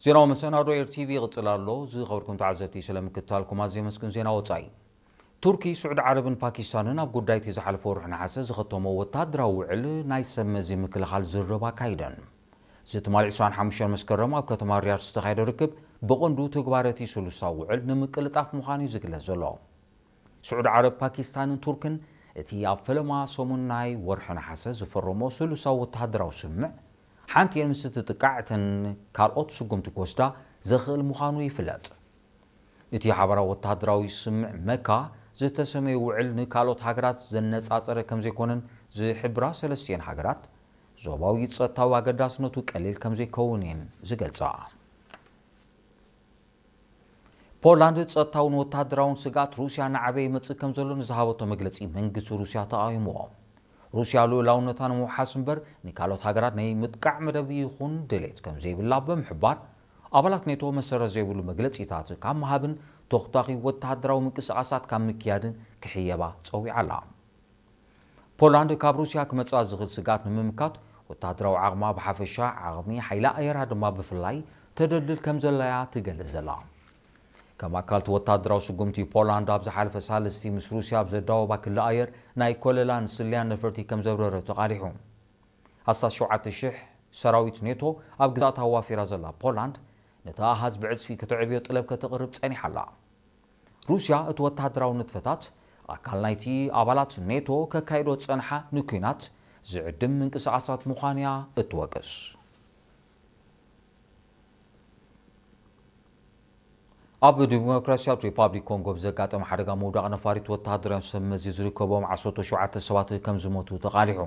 ዜናዊ መሰናዶ ኤር ቲቪ ይቕጽል ኣሎ። ዝኸበርኩም ተዓዘብቲ፣ ስለ ምክትታልኩም ኣዝየ መስግን። ዜና ወጻኢ። ቱርኪ፣ ስዑዲ ዓረብን ፓኪስታንን ኣብ ጉዳይ እቲ ዝሓለፈ ወርሒ ነሓሰ ዝኸተሞ ወተሃደራዊ ውዕል ናይ ሰብ መዚ ምክልኻል ዝርርብ ኣካይደን። እዚ ትማሊ ዕስራን ሓሙሽተን መስከረም ኣብ ከተማ ሪያድ ዝተኻየደ ርክብ ብቐንዱ ትግባረ እቲ ስሉሳዊ ውዕል ንምቅልጣፍ ምዃኑ እዩ ዝግለጽ ዘሎ። ስዑዲ ዓረብ፣ ፓኪስታንን ቱርክን እቲ ኣብ ፈለማ ሰሙን ናይ ወርሒ ነሓሰ ዝፈረሞ ስሉሳዊ ወተሃደራዊ ስምምዕ ሓንቲ እየን ምስ እትጥቃዕ፣ እተን ካልኦት ስጉምቲ ክወስዳ ዘኽእል ምዃኑ ይፍለጥ። እቲ ሓባራዊ ወተሃደራዊ ስምምዕ መካ ዝተሰመየ ውዕል ንካልኦት ሃገራት ዘነጻጸረ ከምዘይኮነን ዝሕብራ ሰለስቲኤን ሃገራት፣ ዞባዊ ጸጥታዊ ኣገዳስነቱ ቀሊል ከምዘይከውን እየን ዝገልጻ። ፖላንድ ጸጥታውን ወተሃደራውን ስግኣት ሩስያ እናዓበየ ይመጽእ ከም ዘሎ ንዝሃበቶ መግለጺ መንግስቲ ሩስያ ተቓዊምዎ። ሩስያ ልኡላውነታ ንምውሓስ እምበር ንካልኦት ሃገራት ናይ ምጥቃዕ መደብ ይኹን ድሌት ከም ዘይብላ ብምሕባር፣ ኣባላት ኔቶ መሰረት ዘይብሉ መግለጺታት ካብ ምሃብን ተኹታኺ ወተሃደራዊ ምንቅስቓሳት ካብ ምክያድን ክሕየባ ጸዊዓ ኣላ። ፖላንድ ካብ ሩስያ ክመጽኣ ዝኽእል ስግኣት ንምምካት ወተሃደራዊ ዓቕማ ብሓፈሻ፣ ዓቕሚ ሓይሊ ኣየራ ድማ ብፍላይ ተደልድል ከም ዘላያ ትገልጽ ዘላ። ከም ኣካል እቲ ወተሃደራዊ ስጉምቲ፣ ፖላንድ ኣብ ዝሓለፈ ሳልስቲ ምስ ሩስያ ኣብ ዘዳወባ ክሊ ኣየር ናይ ኮለላን ስልያን ነፈርቲ ከም ዘብረረ ተቓሊሑ። ኣስታት ሸውዓተ ሽሕ ሰራዊት ኔቶ ኣብ ግዛእታ ኣዋፊራ ዘላ ፖላንድ፣ ነቲ ኣሃዝ ብዕጽፊ ከተዕብዮ ጥለብ ከተቕርብ ጸኒሓ ኣላ። ሩስያ እቲ ወተሃደራዊ ንጥፈታት ኣካል ናይቲ ኣባላት ኔቶ ከካይዶ ዝጸንሓ ንኲናት ዝዕድም ምንቅስቓሳት ምዃን እያ እትወቅስ። ኣብ ዲሞክራሲያዊት ሪፓብሊክ ኮንጎ ብዘጋጠመ ሓደጋ ምውዳቕ ነፋሪት ወተሃደራዊ ሰብ መዚ ዝርከቦም ዓሰርተ ሸውዓተ ሰባት ከም ዝሞቱ ተቓሊሑ።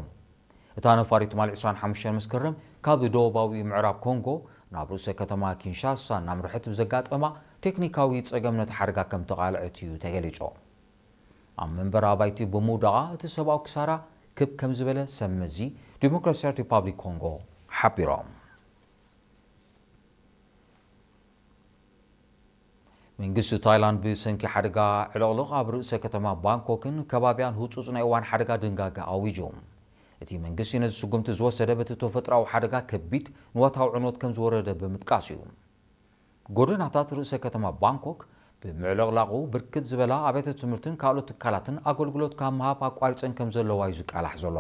እታ ነፋሪት ትማሊ ዕስራን ሓሙሽተን መስከረም ካብ ደቡባዊ ምዕራብ ኮንጎ ናብ ርእሰ ከተማ ኪንሻሳ እናምርሐት ብዘጋጠማ ቴክኒካዊ ጸገም ነቲ ሓደጋ ከም ተቓልዐት እዩ ተገሊጹ። ኣብ መንበሪ ኣባይቲ ብምውዳቓ እቲ ሰብኣዊ ክሳራ ክብ ከም ዝበለ ሰብ መዚ ዲሞክራሲያዊት ሪፓብሊክ ኮንጎ ሓቢሮም። መንግስቲ ታይላንድ ብሰንኪ ሓደጋ ዕልቕልቕ ኣብ ርእሰ ከተማ ባንኮክን ከባቢያን ህጹጽ ናይ እዋን ሓደጋ ድንጋገ ኣዊጁ። እቲ መንግስቲ ነዚ ስጉምቲ ዝወሰደ በቲ ተፈጥሮኣዊ ሓደጋ ከቢድ ንዋታዊ ዕንወት ከም ዝወረደ ብምጥቃስ እዩ። ጎደናታት ርእሰ ከተማ ባንኮክ ብምዕልቕላቑ ብርክት ዝበላ ኣብያተ ትምህርትን ካልኦት ትካላትን ኣገልግሎት ካብ ምሃብ ኣቋሪጸን ከም ዘለዋ እዩ ዝቃላሕ ዘሎ።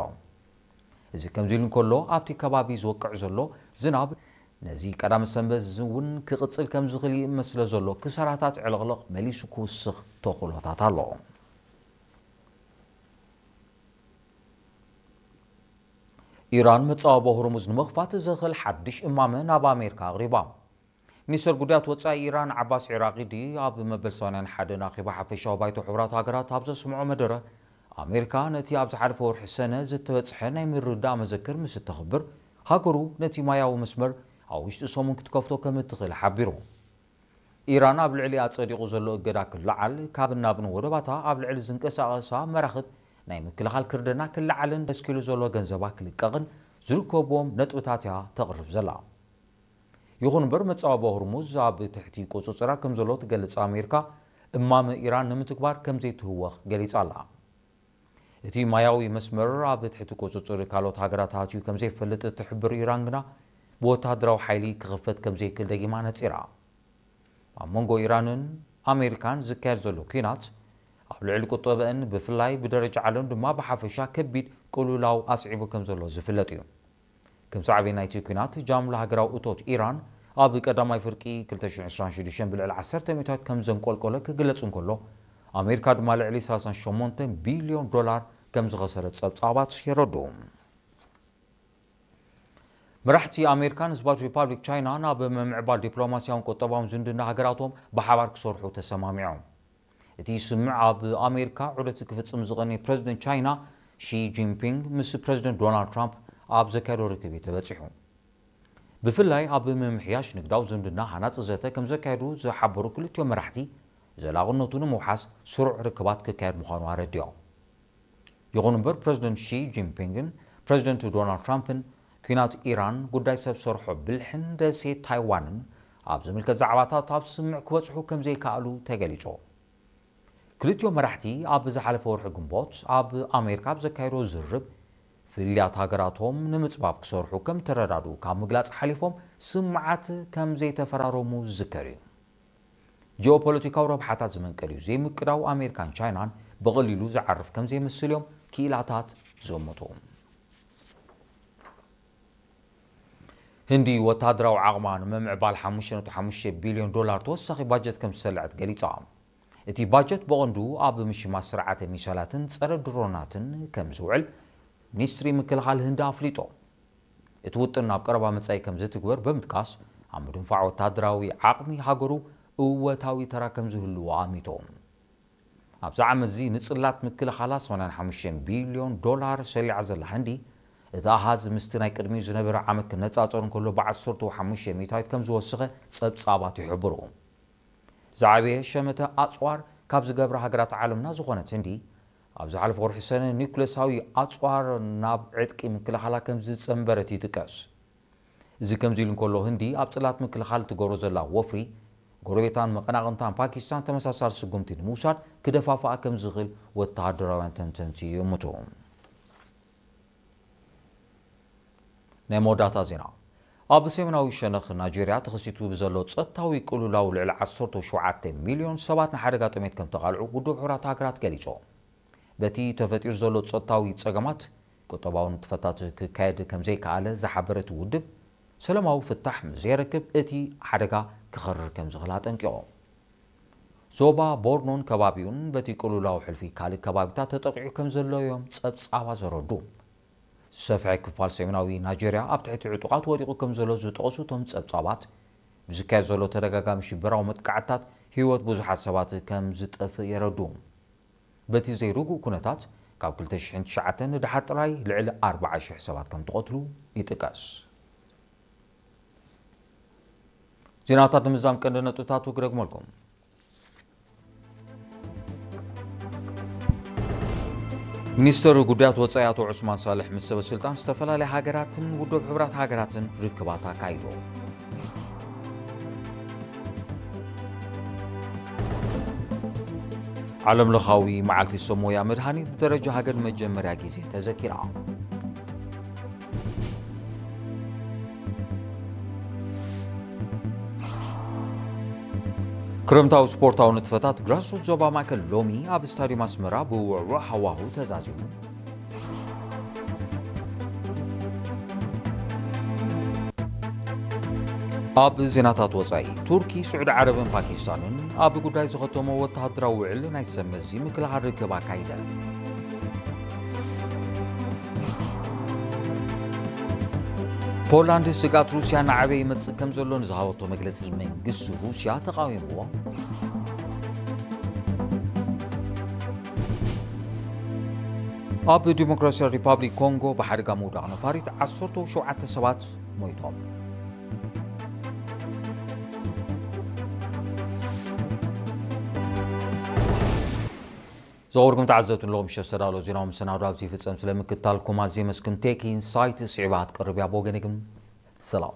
እዚ ከምዚ ኢሉ እንከሎ፣ ኣብቲ ከባቢ ዝወቅዕ ዘሎ ዝናብ ነዚ ቀዳመ ሰንበት እውን ክቕጽል ከም ዝኽእል ይእመት ስለ ዘሎ፣ ክሳራታት ዕልቕልቕ መሊሱ ክውስኽ ተኽእሎታት ኣሎ። ኢራን መጻወቦ ሆርሙዝ ንምኽፋት ዘኽእል ሓድሽ እማመ ናብ ኣሜሪካ ኣቕሪባ። ሚኒስተር ጉዳያት ወጻኢ ኢራን ዓባስ ዒራቂዲ ኣብ መበል ሰማንያን ሓደን ኣኼባ ሓፈሻዊ ባይቶ ሕቡራት ሃገራት ኣብ ዘስምዖ መደረ፣ ኣሜሪካ ነቲ ኣብ ዝሓለፈ ወርሒ ሰነ ዝተበጽሐ ናይ ምርዳእ መዘክር ምስ እተኽብር፣ ሃገሩ ነቲ ማያዊ መስመር ኣብ ውሽጢ ሰሙን ክትከፍቶ ከም እትኽእል ሓቢሩ። ኢራን ኣብ ልዕሊኣ ጸዲቑ ዘሎ እገዳ ክለዓል፣ ካብን ናብን ወደባታ ኣብ ልዕሊ ዝንቀሳቐሳ መራኽብ ናይ ምክልኻል ክርደና ክለዓልን ተስኪሉ ዘሎ ገንዘባ ክልቀቕን ዝርከብዎም ነጥብታት እያ ተቕርብ ዘላ። ይኹን እምበር፣ መጻወቦ ሆርሙዝ ኣብ ትሕቲ ቁጽጽራ ከም ዘሎ ትገልጽ ኣሜሪካ፣ እማመ ኢራን ንምትግባር ከም ዘይትህወኽ ገሊጻ ኣላ። እቲ ማያዊ መስመር ኣብ ትሕቲ ቁጽጽር ካልኦት ሃገራት ኣትዩ ከም ዘይፈልጥ እትሕብር ኢራን ግና፣ ብወተሃደራዊ ሓይሊ ክኽፈት ከም ዘይክእል ደጊማ ነጺራ። ኣብ መንጎ ኢራንን ኣሜሪካን ዝካየድ ዘሎ ኲናት፣ ኣብ ልዕሊ ቁጠበአን ብፍላይ፣ ብደረጃ ዓለም ድማ ብሓፈሻ ከቢድ ቅልውላው ኣስዒቡ ከም ዘሎ ዝፍለጥ እዩ። ከም ሳዕቤን ናይቲ ኲናት፣ ጃምላ ሃገራዊ እቶት ኢራን ኣብ ቀዳማይ ፍርቂ ክልተ ሽሕን ዕስራን ሽዱሽተን ብልዕሊ ዓሰርተ ሚእታዊት ከም ዘንቆልቆለ ክግለጽ እንከሎ፣ ኣሜሪካ ድማ ልዕሊ ሰላሳን ሸሞንተን ቢልዮን ዶላር ከም ዝኸሰረት ጸብጻባት የረድኡ። መራሕቲ ኣሜሪካን ህዝባዊት ሪፓብሊክ ቻይናን ኣብ ምምዕባል ዲፕሎማስያውን ቁጠባውን ዝምድና ሃገራቶም ብሓባር ክሰርሑ ተሰማሚዖም። እቲ ስምምዕ ኣብ ኣሜሪካ ዑደት ክፍጽም ዝቐነየ ፕረዚደንት ቻይና ሺ ጂንፒንግ ምስ ፕረዚደንት ዶናልድ ትራምፕ ኣብ ዘካየዶ ርክብ እዩ ተበጺሑ። ብፍላይ ኣብ ምምሕያሽ ንግዳዊ ዝምድና ሃናጺ ዘተ ከም ዘካየዱ ዝሓበሩ ክልቲኦም መራሕቲ፣ ዘላቕነቱ ንምውሓስ ስሩዕ ርክባት ክካየድ ምዃኑ ኣረዲኦም። ይኹን እምበር፣ ፕረዚደንት ሺ ጂንፒንግን ፕረዚደንት ዶናልድ ትራምፕን ኲናት ኢራን፣ ጉዳይ ሰብ ሰርሖ ብልሕን ደሴት ታይዋንን ኣብ ዝምልከት ዛዕባታት ኣብ ስምምዕ ክበጽሑ ከም ዘይከኣሉ ተገሊጹ። ክልቲኦም መራሕቲ ኣብ ዝሓለፈ ወርሒ ግንቦት ኣብ ኣሜሪካ ኣብ ዘካየዶ ዝርርብ፣ ፍልያት ሃገራቶም ንምጽባብ ክሰርሑ ከም ተረዳድኡ ካብ ምግላጽ ሓሊፎም ስምዓት ከም ዘይተፈራረሙ ዝዝከር እዩ። ጂኦፖለቲካዊ ረብሓታት ዝመንቀል እዩ፣ ዘይምቅዳው ኣሜሪካን ቻይናን ብቐሊሉ ዝዓርፍ ከም ዘይመስል እዮም ክኢላታት ዝእምቱ። ህንዲ ወታደራዊ ዓቕማ ንምምዕባል ሓሙሽተ ነጥቢ ሓሙሽተ ቢልዮን ዶላር ተወሳኺ ባጀት ከም ዝሰለዐት ገሊጻ። እቲ ባጀት ብቐንዱ ኣብ ምሽማት ስርዓተ ሚሳይላትን ጸረ ድሮናትን ከም ዝውዕል ሚኒስትሪ ምክልኻል ህንዲ ኣፍሊጡ። እቲ ውጥን ኣብ ቀረባ መጻኢ ከም ዝትግበር ብምጥቃስ፣ ኣብ ምድንፋዕ ወታደራዊ ዓቕሚ ሃገሩ እወታዊ ተራ ከም ዝህልዎ ኣሚቱ። ኣብዚ ዓመት እዚ ንጽላት ምክልኻላ ሰማንያን ሓሙሽተን ቢልዮን ዶላር ሰሊዓ ዘላ ህንዲ፣ እቲ ኣሃዝ ምስቲ ናይ ቅድሚኡ ዝነበረ ዓመት ክነጻጸር እንከሎ ብዓሰርተ ሓሙሽተ ሚእታዊት ከም ዝወሰኸ ጸብጻባት ይሕብሩ። ዝዓበየ ሸመተ ኣጽዋር ካብ ዝገብራ ሃገራት ዓለምና ዝኾነት ህንዲ፣ ኣብ ዝሓለፈ ወርሒ ሰነ ኒውክለሳዊ ኣጽዋር ናብ ዕጥቂ ምክልኻላ ከም ዝጸንበረት ይጥቀስ። እዚ ከምዚ ኢሉ እንከሎ፣ ህንዲ ኣብ ጽላት ምክልኻል ትገብሮ ዘላ ወፍሪ፣ ጎረቤታን መቐናቕንታን ፓኪስታን ተመሳሳሊ ስጉምቲ ንምውሳድ ክደፋፍኣ ከም ዝኽእል ወተሃደራውያን ተንተንቲ ይእምቱ። ናይ መወዳእታ ዜና። ኣብ ሰሜናዊ ሸነኽ ናይጄርያ ተኸሲቱ ብዘሎ ጸጥታዊ ቅልውላው ልዕሊ ዓሰርተ ሸውዓተ ሚልዮን ሰባት ንሓደጋ ጥሜት ከም ተቓልዑ ውድብ ሕቡራት ሃገራት ገሊጹ። በቲ ተፈጢሩ ዘሎ ጸጥታዊ ጸገማት ቁጠባዊ ንጥፈታት ክካየድ ከም ዘይከኣለ ዝሓበረ እቲ ውድብ፣ ሰላማዊ ፍታሕ ምስ ዘይረክብ እቲ ሓደጋ ክኸርር ከም ዝኽእል ኣጠንቂቑ። ዞባ ቦርኖን ከባቢኡን በቲ ቅልውላው ሕልፊ ካልእ ከባቢታት ተጠቒዑ ከም ዘሎ እዮም ጸብጻባት ዘረዱ። ዝሰፍሐ ክፋል ሰሜናዊ ናይጄርያ ኣብ ትሕቲ ዕጡቓት ወዲቑ ከም ዘሎ ዝጠቐሱ እቶም ጸብጻባት፣ ብዝካየድ ዘሎ ተደጋጋሚ ሽበራዊ መጥቃዕትታት ህይወት ብዙሓት ሰባት ከም ዝጠፍእ የረዱ። በቲ ዘይርጉእ ኩነታት፣ ካብ ክልተ ሽሕን ትሽዓተን ንደሓር ጥራይ ልዕሊ ኣርባዓ ሽሕ ሰባት ከም ተቐትሉ ይጥቀስ። ዜናታት ንምዛም ቀንዲ ነጥብታቱ ክደግመልኩም። ሚኒስተር ጉዳያት ወጻኢ ኣቶ ዑስማን ሳልሕ ምስ ሰበ ስልጣን ዝተፈላለያ ሃገራትን ውድብ ሕቡራት ሃገራትን ርክባት ኣካይዱ። ዓለምለኻዊ መዓልቲ ሰብ ሞያ መድሃኒት ብደረጃ ሃገር ንመጀመርያ ግዜ ተዘኪራ። ክረምታዊ ስፖርታዊ ንጥፈታት ግራስሩት ዞባ ማእከል ሎሚ ኣብ ስታድዩም ኣስመራ ብውዕዉዕ ሃዋሁ ተዛዚሙ። ኣብ ዜናታት ወጻኢ፣ ቱርኪ፣ ስዑዲ ዓረብን ፓኪስታንን ኣብ ጉዳይ ዝኸተሞ ወተሃደራዊ ውዕል ናይ ሰብ መዚ ምክልኻል ርክብ ኣካይደን። ፖላንድ ስግኣት ሩስያ እናዓበየ ይመጽእ ከም ዘሎ ንዝሃበቶ መግለጺ መንግስቲ ሩስያ ተቓዊምዎ። ኣብ ዲሞክራሲያዊ ሪፓብሊክ ኮንጎ ብሓደጋ ምውዳቕ ነፋሪት ዓሰርተ ሸውዓተ ሰባት ሞይቶም። ዝኸበርኩም ተዓዘብቲ፣ ንሎሚ ምሸት ዝተዳለወ ዜናዊ መሰናዶ ኣብዚ ይፍጸም። ስለ ምክትታልኩም ኣዝየ የመስግን። ቴክ ኢንሳይት ስዒባ ክትቀርብ እያ። ብወገነይ ግን ሰላም።